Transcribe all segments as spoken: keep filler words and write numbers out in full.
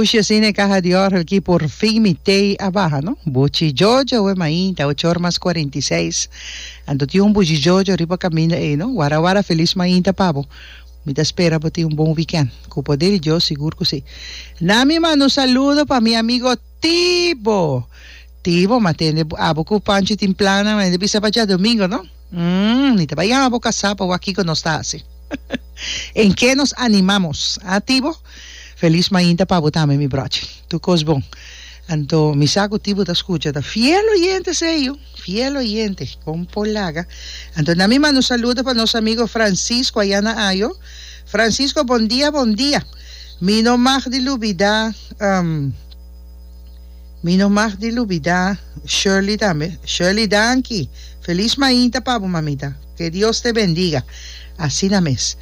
Pushi asina e kaha di òrgel ki por fin mi tei a baha no. Buchi Jojo we mainta ocho or mas kuarenta i seis. Anto tin un Buchi Jojo riba kaminda ei no. Wara wara felis mainta pa bo. Mi ta spera bo tin un bon weekend. Ku poder di Dios sigur ku si. Na mi manda un saludo pa mi amigo Tibo. Tibo ma tende abo ku Panchi tin plannan ma hende bisa pa djadomingo no. Umm mi ta bai yama bo kasá pa wak kiko nos ta hasi. En ke nos animamos, ah Tibo? Felis mainta pa bo tambe mi brochi. Tur kos bon. Anto mi sa ku Tibo ta skucha, ta fiel oyente esei yu, fiel oyente, kon por laga. Anto na mi manda un saludo pa nos amigo Francisco aya na Ayo. Francisco bon dia bon dia. Mi no mag di lubida um. Mi no mag di lubida Shirley tambe. Shirley danki. Feliz mainta pa bo mamita. Que Dios te bendiga. Asina mes.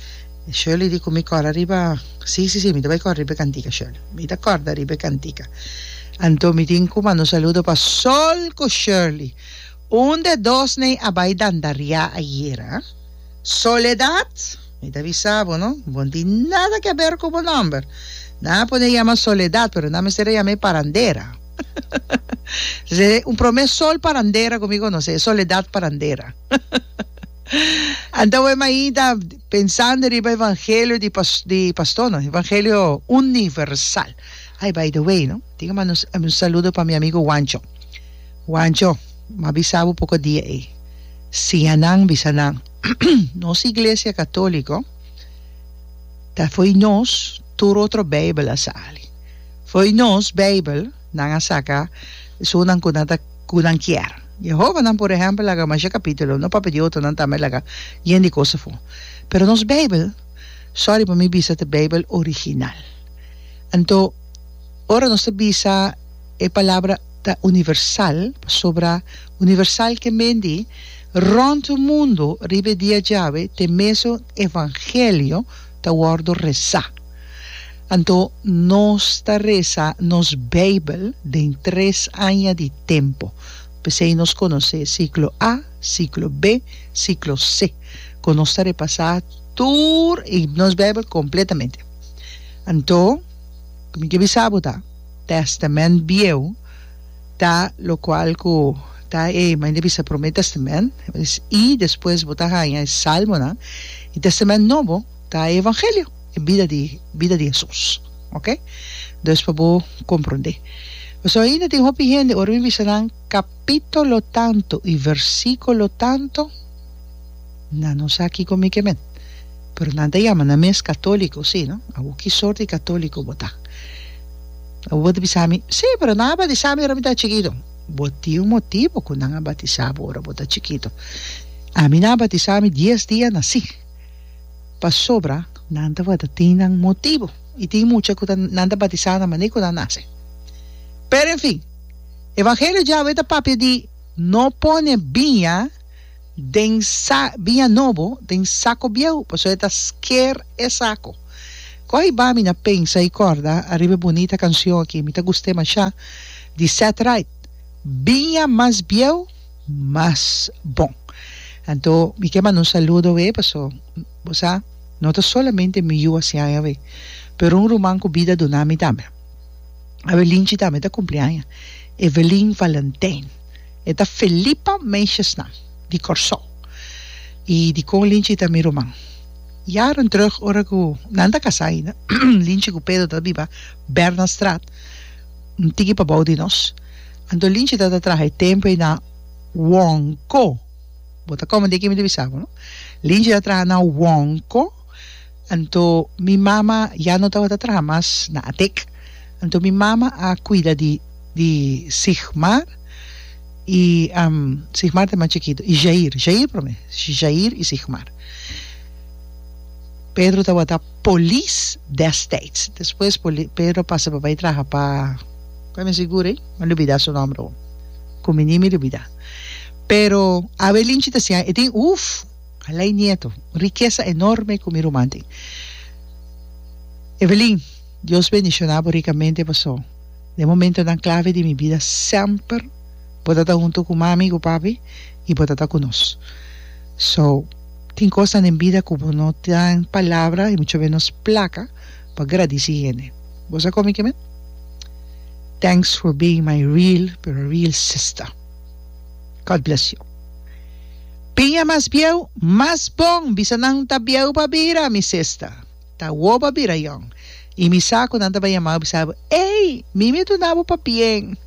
Shirley di cu mi corda riba si si si mi ta bay corda riba e cantica Shirley. Mi ta corda riba e cantica. Anto mi tin cu manda un saludo pa Sol cu Shirley. Un de dos ney a bay dandaria ayera. Soledad, mi ta bisa bo no, bo no tin nada ke aber ku bo nomber. Nan a pone yama Soledad, pero nan mester a yam'é Parandera. Se un prome sol parandera ku mi konosé, Soledad Parandera. Anto we mainta pensando riba evangelio di pas di pastor no, evangelio universal. Ay by the way no, tin ke manda un saludo pa mi amigo Wancho. Wancho, m'a bisa bo poko dia ei. Siña nan, bisa nan, nos Iglesia Católico ta fo'i nos tur otro Bijbel a sali. Fo'i nos Bijbel nan a saca esunnan cu nan ta cu nan kier. Jehovanan por ehempel laga masha capítulo, no papia di otronan tambe laga yen di cos afó. Pero nos Bijbel, sorry pa mi bisa, ta Bijbel original. Anto ora nos ta bisa e palabra ta universal pasobra universal ke men di rònt mundu riba e dia djawe te mesun evangelio ta wòrdu resá. Anto nos ta resa nos Beibel den tres aña di tempu. P'esei nos konosé siklo A, siklo B, siklo C, ku nos ta repasá tur i nos Beibel kompletamente. Anto, mi ke bisa bo ta. Testament Bieu ta lokual ku ta e manera di bisa Promé Testament i despues bo ta haña e Salmonan i Testament Nobo ta e Evangelio, e bida di bida di Hesus. Oke? Dus pa bo komprondé. Pasobra ainda tin hopi hende ora mi bisa nan kapitulo tantu i versíkulo tantu nan no sa kiko mi ke men. Pero nan ta yama nan mes katóliko, sí, no? Awor ki sort di katóliko bo ta? Awor bo ta bisa mi, Sí, pero nan a batisá mi ora mi ta chikitu. Bo tin un motibu ku nan a batisá bo ora bo ta chikitu. Ami nan a batisá mi dies dia nasí, pasobra nan tabata tin nan motibu. I tin mucha ku ta nan ta batisá na manera ku nan nase. Pero en fin, Evangelio djawe ta papia di no pone biña den sa biña nobo den sako bieu, pasobra e ta sker e sako. Kohi ba mi na pensa i kòrda ariba e bunita kanshon aki, mi ta gust'é mashá, di Seth Wright, Biña mas bieu, mas bon. Anto mi ke manda un saludo awe, paso bo sa, no ta solamente mi yu a hasi aña awe, pero un ruman ku bida duna mi tambe. Awe Linchi tambe ta kumpli aña, Evelyn Valentijn. E ta Felipa Meisjesnan di Kòrsou. I dikon Linchi ta mi ruman? Jaren terug ora ku nan ta kasá ainda, Linchi ku Pedro ta biba Bernastraat, un tiki pabou di nos. Anto Linchi tabata traha e tempu ei na Wonko. Bo ta kòmende ke mi ta bisa bo, no? Linchi ta traha na Wonko. Anto mi mama ya no tabata traha mas na Atek. Anto mi mama a kuida di di Sigmar i Sigmar ta e mas chikitu i Jair, Jair prome, Jair i Sigmar. Pedro tabata polis destijds. Despues Pedro a pasa pa bai traha pa, kua mi sigur ei? Mi a lubida su nomber awor. Ku mi ni mi lubida. Pero Abelinchi ta siña e tin uf! Alai nieto, un rikesa enorme ku mi ruman tin. Evelyn, Dios bendiciona bo ricamente paso den momentonan clave di mi bida semper bo ta ta hunto cu mami cu papi y bo ta ta cu nos. So, tin cosnan den bida cu bo no tin palabra y mucho menos placa pa gradici hende. Bo sa con mi ke men? Thanks for being my real, pero real sister. God bless you. Piña mas bieu, mas bon, bisa nan ta bieu pa bira, mi sister. Ta wo pa bira yong. I mi sa ku nan ta bai yama bo bisa bo, Ey, Mimi a duna bo pabien.